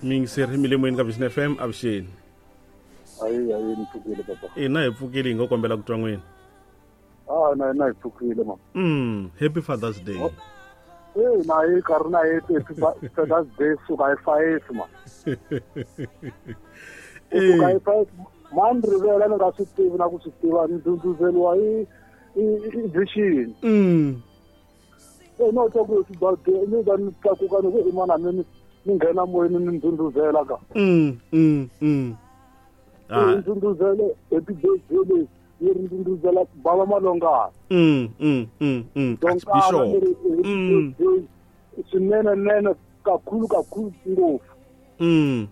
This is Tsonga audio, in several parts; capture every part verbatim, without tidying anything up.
Miyingiseri mi le moyeni ka Vision F M avuxeni. Ayi ayi ni pfukile papa. Ina hi pfukile hi nga kombela ku twa n'wina. Ah na na hi pfukile ma. Mm, happy Father's Day. Oh. Eh na hi karhi na hi happy Father's Day suka hi five ma. Eh suka hi five man rivela ni nga swi tivi na ku swi tiva ni ndhundhuzeliwa hi hi vision. Mm. Eh no twa ku birthday ni va ni tlakuka ni ku i mana ni ni nghena moyeni ni ndhundhuzela ka. Mm mm mm. Ah ndhundhuzele happy birthday yi ri ndhundhuzela bava malongana. Mm mm mm mm. Archbishop. Mm. Swinene nene kakhulu kakhulu ngopfu. Mm.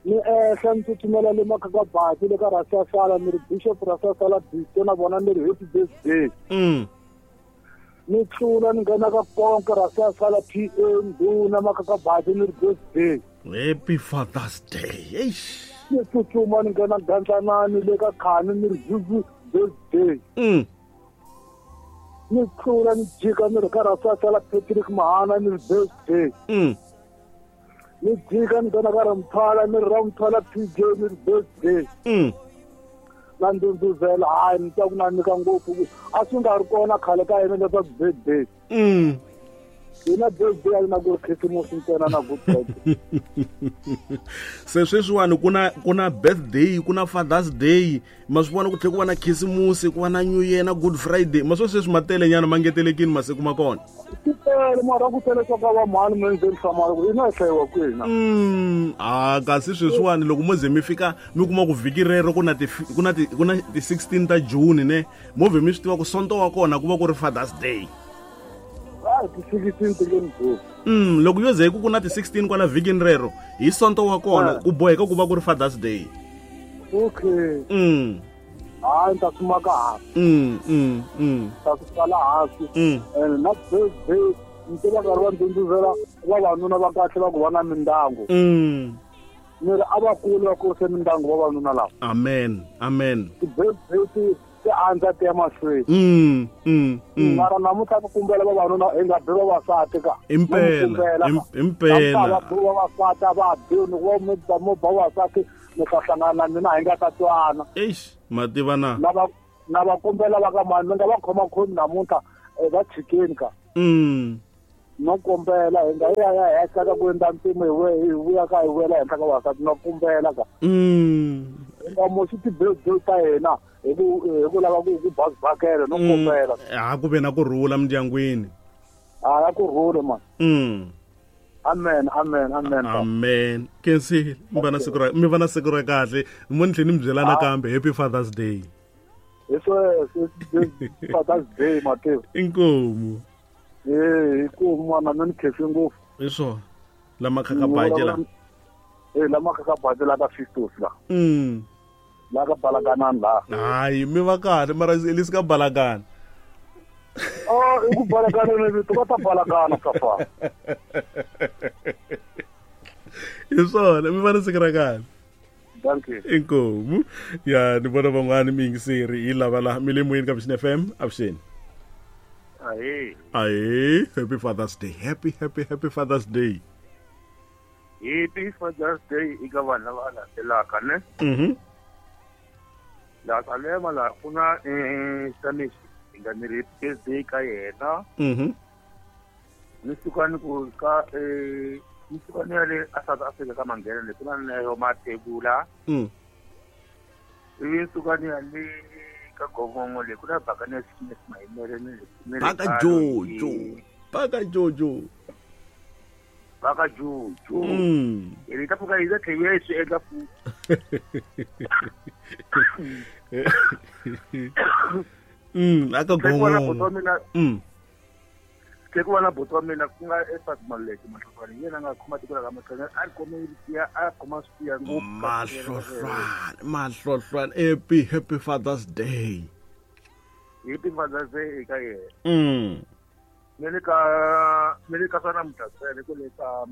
Ni ehla ni tsutsumela le Makakabati le ka Rasasala ni ri Bishop Rasasala Bisto na vona ni ri happy birthday. Mm. Ni tlula ni nghena ka Konke Rasasala P A Nduna Makakabati ni ri birthday. Happy Father's Day. Eish. Ni tsutsuma ni nghena Gandlanani le ka Khani ni ri Zuzu birthday. Mm. Ni tlula ni jika ni ri ka Rasasala Patrick Mahana ni ri birthday. Mm. Ni jika ni nghena ka Ramthala ni ri Ramthala P J ni ri birthday. Mm. Na ndhundhuzela hayi ni twa ku na nyika ngopfu a swi nga ri kona khale ka yena leswaku birthday. Mm. Hina birthday a yi na ku ri Christmas ntsena na Good Friday. Se sweswiwani ku na ku na birthday ku na Father's Day ma swi vona ku tlhela ku va na Christmas ku va na New Year na Good Friday ma swo sweswi ma tele nyana ma ngetelekini masiku ma kona. Ku tele mara ku tele swa ka va mhani mi ndzeni hlamala ku hina hi hlayiwa kwini. Mm ah kasi sweswiwani loko mo ze mi fika mi kuma ku vhiki rero ku na ti ku na ti ku na ti sixteen ta June ne mo vhe mi swi tiva ku Sonto wa kona ku va ku ri Father's Day. Mm loko yo ze ku ku na ti sixteen kwala vhikini rero hi Sonto wa kona ku boheka ku va ku ri Father's Day. Okay. Mm. Hayi ni ta swi maka hansi. Mm mm mm. Ta swi tsala hansi. Mm. And na birthday ni tiva nkarhi wa ndhundhuzela vavanuna va kahle va ku va na mindyangu. Mm. Ni ri a va kuli va kurise mindyangu vavanuna lava. Amen. Amen. Ti-birthday ti ti andza ti ya mahlweni. Mm mm mm. Mara namuntlha ni kumbela vavanuna hi nga bi vavasati ka. Impela. Impela. Va bi vavasati a va bi ni ku va mi ba mo ba vavasati mi ta hlangana na mina hi nga ta twana. Eish ma tiva na. Na va na va kombela va ka mani mi nga va khoma khomi namuntlha va tshikeni ka. Mm. No kombela hi nga ya ya henhla ka ku endla mpimo hi hi vuya ka hi vuyela henhla ka vavasati no kombela ka. Mm. Hi nga moxi ti-birthday ta hina hi ku hi ku lava ku ku bakela no kombela. Ha ku ve na ku rhula mindyangwini. Ha ku rhule man. Mm. Amen amen amen. Amen. Kensile mi va na siku ra mi va na siku ra kahle mo ni tlhela ni mi byela nakambe happy Father's Day. Hi sweswo Father's Day Mateo. Inkomu. Eh inkomu mwana mina ni khense ngopfu. Hi swona lama Khakabati la. Eh lama Khakabati la ka Fistos la. Mm. La ka Balakanani la. Hayi mi va kahle mara lesi ka Balakana. Oh i ku Balakana ni vito va ta Balakana safa. Hi swona mi va na siku ra kahle. Thank you. Inkomu. Ya ni vona van'wani miyingiseri hi lava la mi le moyeni ka Vision F M avuxeni. Ahe. Ahe, happy Father's Day. Happy happy happy Father's Day. Happy Father's Day eka vanhu lava landzelaka ne. Mhm. La Salema la ku na eh Spanish hi nga ni ri birthday ka yena. Mhm. Ni suka ni ku ka eh ni suka ni ya le a South Africa ka Manghena le ku na Neo Mathebula. Mm. Ivi ni suka ni ya le ka Gongongo le ku na Bakane Smith Mahimele ni le Baka Jojo. Baka Jojo. Baka Jojo. Mm. Hi ta pfuka hi ta tlhela hi swi endla futhi. Mm, la ka Gongongo. Mm. Ke ku va na buti wa mina ku nga Efas Maluleke Mahlohlwane yena a nga khoma tiko la ka Mahlonga a khome ya a khoma swi ngopfu Mahlohlwane Mahlohlwane happy happy Father's Day. Happy Father's Day eka yena. Mm. Ni le ka ni le ka swa namuntlha ntsena ku le ka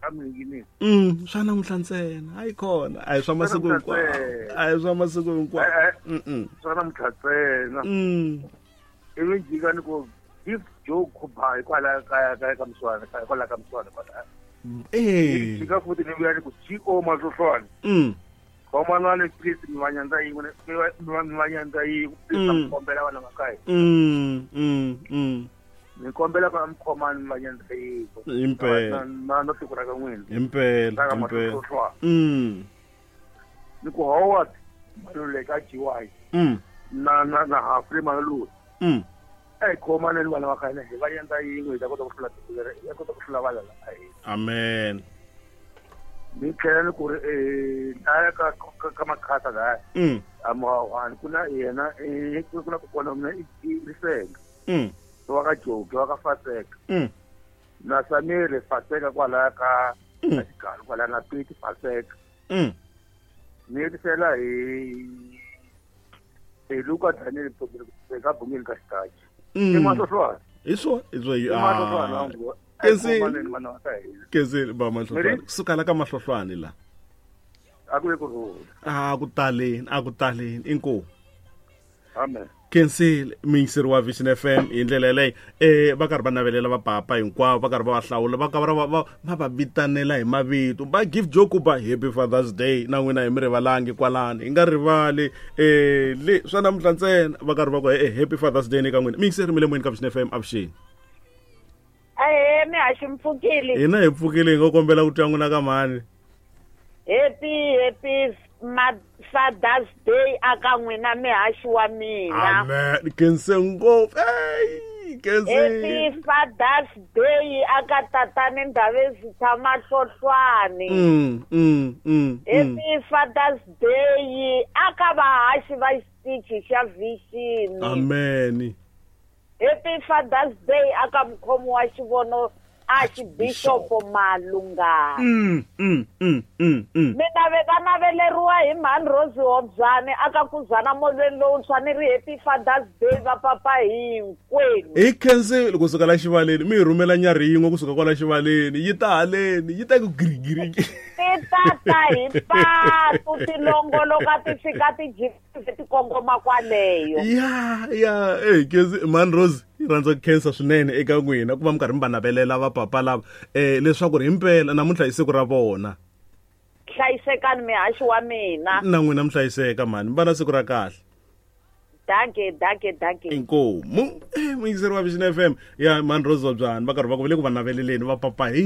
ka Minginisi. Mm, swa namuntlha ntsena hayi khona a hi swa masiku hinkwawo a hi swa masiku hinkwawo. Mm. Swa namuntlha ntsena. Mm. Ivi jika ni ku Gift Joe Khuba hikwalaho kaya kaya ka Mswana hikwalaho ka Mswana kwala Eh. Jika futhi ni vuya ni ku G O Mahlohlwane. Mm. Khomanani please mi va nyandza yin'we mi va mi va mi va nyandza yin'we please Mm. mi kombela vana va ka hina. Mm. Mm. Mm. Mi kombela ka mi khomani mi va nyandza yin'we. Impela. Na na na tiko ra ka n'wina. Impela. Ra ka Impela. Mahlohlwane. Mm. Ni ku Howard Maluleke a G Y. Mm. Na na na Humphrey Maluleke. Mm. A hi khomaneni vana va ka hina hi va nyandza yin'we hi ta kota ku hlula tiko leri hi ta kota ku hlula valala va hina. Amen. Ni tlhela ni ku ri eh laya ka ka ka Makhasa laya Mm. a Muhawani ku na yena eh ku na kokwana wa mina i i Risenga Mm. wa ka Joki wa ka Faseka Mm. na Samiri Faseka kwalaya ka Mm. ka Xigalo kwalaya na Pete Faseka Mm. ni hetisela hi hi Luka Daniel Mthombeni ka Bungeni ka Xitachi i Mm. Mahlohlwane Hi swona hi swo i Mahlohlwane ah. wangu Kesi- khomaneni vana va ka hina Kesi ba Mahlohlwane. Miri? Suka la ka Mahlohlwane la. a ku ve ku rhula A ku taleni, a ku taleni. Inkomu. amen. Khensile muyingiseri wa Vision F M hi ndlela yaleyo eh va karhi va navelela vapapa hinkwavo va karhi va va hlawula va karhi va va va va vitanela hi mavito va give joke ba happy Father's Day na n'wina hi mi rivalangi kwalani hi nga rivali eh le swa namuntlha ntsena va karhi va ku eh happy Father's Day ni ka n'wina muyingiseri mi le moyeni ka Vision F M avuxeni. Ahee mi haxi mpfukile. Hina hi pfukile hi ngo kombela ku twa n'wina ka mhani. Happy happy ma Father's Day aka n'wina mihaxi wa mina. Amen. Khense ngopfu. Ey, khense. Happy Father's Day aka tatani Ndabezitha Mahlohlwane. Mm, mm, mm. Happy Father's Day aka vahaxi va xitichi xa Vision. Amen. Happy Father's Day aka mukhomi wa xivono Archbishop Malungana. Mm, mm, mm, mm, mm. Mina ve va naveleriwa hi mhani Rose Hobyane aka kuzana molweni lowuntshwa ni ri happy Father's Day va papa hinkwenu. Hi khensile kusuka la xivaleni mi hi rhumela nyarhi yin'we kusuka kwala xivaleni yi ta haleni yi ta ku girigiri. Ti tata hi patu ti longoloka ti fika ti jika ti kongoma kwaleyo. Ya ya eh khensi mhani Rose yi rhandza ku khensa swinene eka n'wina ku va mi karhi mi va navelela vapapa lava eh leswaku ri himpela namuntlha i siku ra vona. Hlayisekani mihaxi wa mina. Na n'wina mi hlayiseka mhani mi va na siku ra kahle. Danke danke danke. Inkomu eh muyingiseri wa Vision F M ya mhani Rose Hobyane va karhi va ku va le ku va naveleleni va papa hi